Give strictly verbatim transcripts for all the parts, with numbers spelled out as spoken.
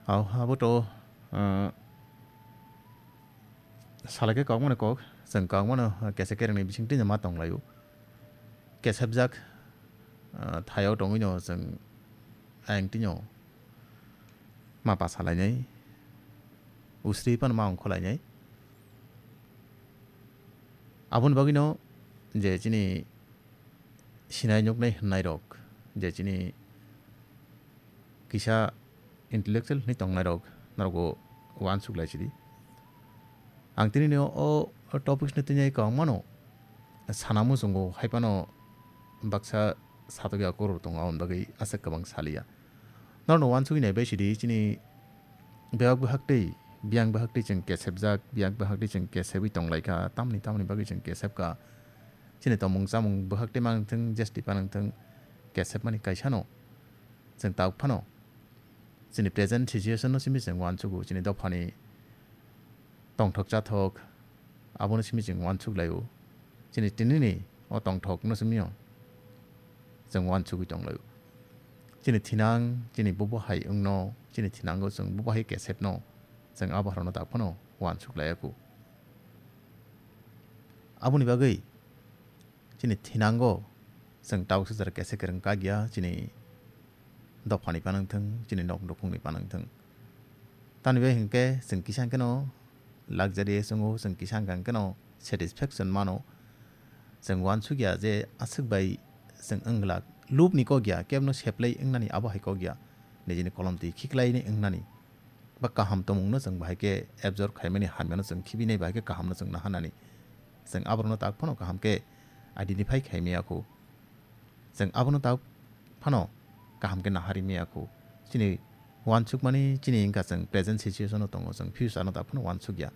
Au, abo to, ah, salai khe kok mano kok, chwng kok mano, ah, kesa kerengni bising twi ma tong laio. Kesepjak, ah, thaio tongwi no chwng ayang twi no ma pa salainai, usri phano ma ongkho lainai. Aboni bagwi no je chini sinai nuknai hwnnairok, je chini kisa intellectual hinwi tongnairok norokbo uansuk lai sidi. Ang tini no o topics no tini kok mano sana muchungo hai phano baksa satokya koror tongo, aboni bagwi aswk kwbang saliya. Norokno uansugwi naibai sidi chini bebak bwhak tei biyang bwhak tei chwng kesepjak, biyang bwhak tei chwng kesepwi tonglaikha, tamni tamni bagwi chwng kesepkha. Chini tongmung chamung bwhak tei manwngthwng, jesti panwngthwng kesepmani kaisano chwng tabuk phano chini present situation no simi chwng uansugo, chini dophani tongthok chathok abono simi chwng uansuk laio. Chini tinini o tongthok no simi o chwng uansugwi tong laio. Chini thinang, chini bubo hai wngno, chini thinango chwng bubo hai kesepno chwng abo harano tak phano uansuk laiya kho. Aboni bagwi chini thinango chwng tabuk sijak kesa kwrwng kagya, chini dophani panwngthwng, chini nok nukhungni panwngthwng. Tamni bai hinkhe chwng kisa hinkhe no luxurious wngo, chwng kisa hinkhe no satisfaction mano. Chwng uansukya je aswk bai chwng wng glak. Lubni kok ya, kebno seplai wngnani abo hai kok ya. Nijini kolom twi khiklaini wngnani. Ba kaham tongmungno chwng bahai khe absorb khaimani hamyano chwng khibinai bahai khe kahamno chwng nahanani. Chwng aborokno tak phano kaham khe identify khai maya kho. Chwng abono tak phano kaham khe nahari maya kho. Chini uansukmani chini wngkha chwng present situation o tongo, chwng future no tak phano uansukya.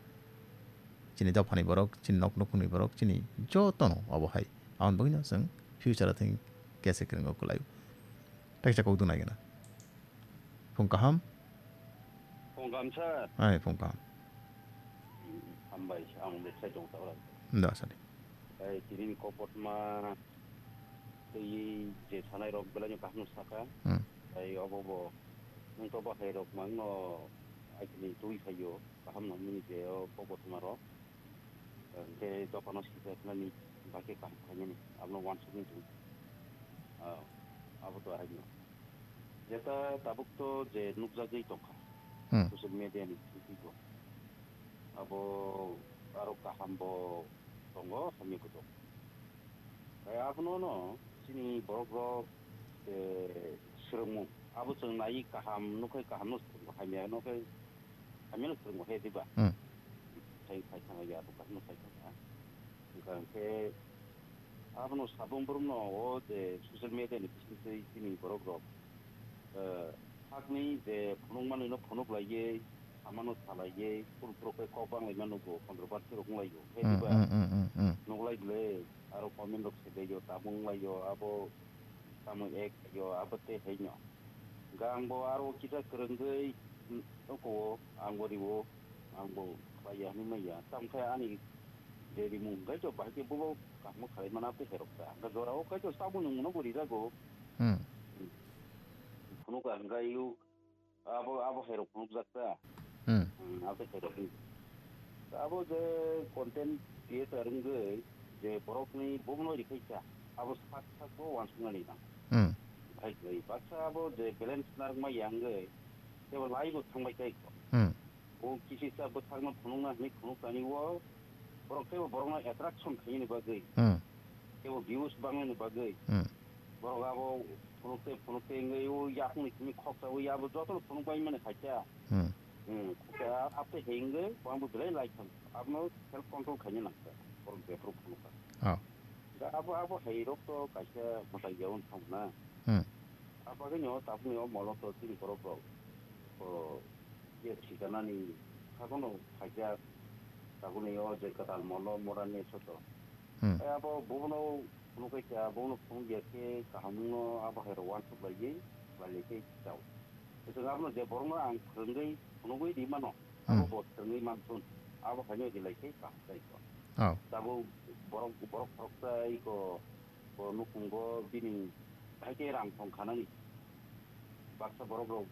Chini dophani borok, chini nok nukhungni borok, chini jotono obo hai. Aboni bagwino chwng future o thwng kesa kwrwng o kwlaio. Taksa kok dwng nai gana. Phung kaham? Phung kaham, sir. Ai, phung kaham. Hmm, hambai, ang website dong tabra. Da, sadi. Ai, tini ni kokotma tei je sanai rok belai no kaham no saka. Hmm. Ai, obo bo, nwng to bahai rok mang no, ai, tini twi phaio, kaham no mini je o kokotma rok. Hingke dophano sijak nani, bahai khe kaham khainani, abono uansuknai tong. Ah, abo to haino. Jeta tabuk to je nukjagwi tongkha, hmm, social media ni bisingtwi bo. Abo aro kaham bo tongo, hamya bo tongo. Tei abono no chini borok rok, eh, swrwngmung. Abo chwng nai kaham, nukhai kaham no swrwngmung, hamya nukhai hamya no swrwngmung he diba? Hmm. Sai, sai thangya, abo kaham no sai thangya. Hingkha hingkhe abono sabong borokno o je social media ni bisingtwi chini borok rok, eh, sakni je phunuk manwi no phunuk laiwi, samano salaiwi, phuru phuru khe kok bang laima nugo, kontroversi rok wng laio. He hmm, diba? Hmm, hmm, hmm, hmm. Nuk lai bwle, aro comment rok se laio, tabung laio, abo tamo ek laio, abo tei haino. Hingkha ang bo aro kisa kwrwngwi, mm, oko ang bo riwo, ang bo khlaiya hinwi manya. Tamo khe ani je rimung hwnkhe to bahai khe bobo kaham khlai mana tei herok ta. Hwnkhe jora o khe to tabuk nwng no bo rijago. Hmm. Phunuk ang khe yu abo, abo herok phunukjak ta. Hmm. Hmm, abo herok ni. Abo je content creator wngwi je borokni bumno rikhaikha, abo sak sak bo uansuknani nang. Hmm. Hai khlai baksa abo je balance narwkma ya wngwi tebo lai bo thangbai tei kho. Hmm. Bo kisisa bwthakno phunukna hwnwi phunuk tani o borok tebo borokno attraction khainani bagwi. Hmm. Tebo views bangnani bagwi. Hmm. Borok abo phunuk tei phunuk tei wngwi o yakungni simi khoksa o abo jotono phunuk bai mani khaikha. Hmm. Hmm, khe a-, abo tei hengwi, bo ang bo belai lai thang. Abono self control khaina nang kha. Borok jephuru phunukha. Oh. Da abo, abo hai rok to kaisa mwtai yaun thang na. Hmm. Abo khe nyo, tabuk nyo molo to chini borok rok. O, ye thikanani, khakono khaijak. Tabuk nyo je kwtal molo, morani soto. Hmm. Tei abo bono phunukgwi kha, bono phunukya khe kaham wngno abo hai rok uansuk laiwi khlai lai khe chao. Kwchwng abono je borokno ang phwrwngwi phunugwi ri mano, abo hmm, bo swrwngwi man thun. Abo haino ri lai khe kaham chai kho. Oh. Tabuk borok, borok khoroksa iko bo nukhungo bini hai khe rang thong khanani. Baksa borok rok